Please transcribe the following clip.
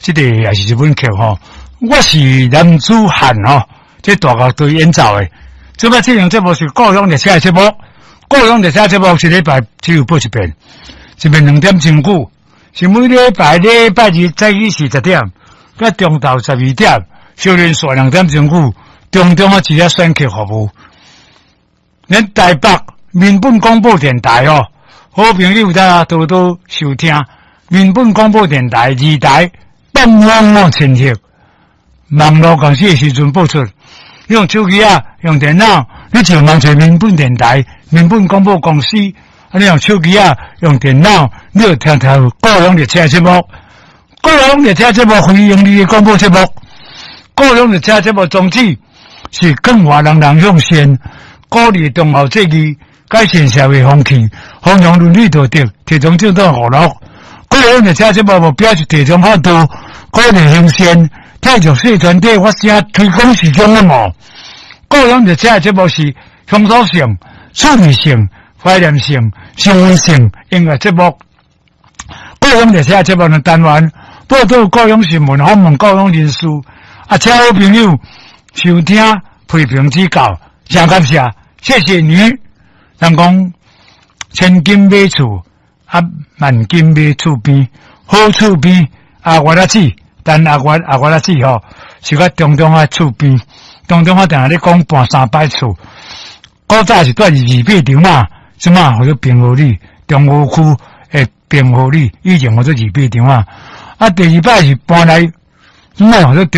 這个也是日本曲吼。我是男子漢吼，這大樂隊演奏的。這擺這樣節目是故鄉列車的節目，故鄉列車節目一禮拜只有播一遍，一遍2點鐘久，是每禮拜禮拜二早起是10點，佮中晝12點，小連續2點鐘久，中中啊一個選曲服務。咱台北民本廣播電台哦，好朋友大家多多收聽民本廣播電台二台東方哦親戚，網路公司的時陣播出。用手機啊，用電腦，你就網找民本電台、民本廣播公司。啊，你用手機啊，用電腦，你就聽聽故鄉列車節目。故鄉列車節目非營利的廣播節目。故鄉列車節目宗旨是更華人人向善，鼓勵忠孝節義，改善社會風氣，弘揚倫理道德，提倡正當娛樂。故鄉列車節目目標是提倡孝道，鼓勵行善。替弱勢團體發聲，推廣市場的嘛。故鄉列車節目是鄉土性、趣味性、懷念性、新聞性音樂節目。故鄉列車節目的單元報導故鄉新聞，訪問故鄉人士。啊，請好朋友收聽、批評指教，真感謝，謝謝你。人講千金買厝，啊萬金買厝邊，好厝邊啊，我來子。但阿月阿月仔子吼，是較中中仔厝邊，中中仔定定咧講搬三擺厝。古早是蹛佇二八場嘛，這馬號做平和里，中和區的平和里，以前號做二八場啊。啊，第二擺是搬來，這馬號做。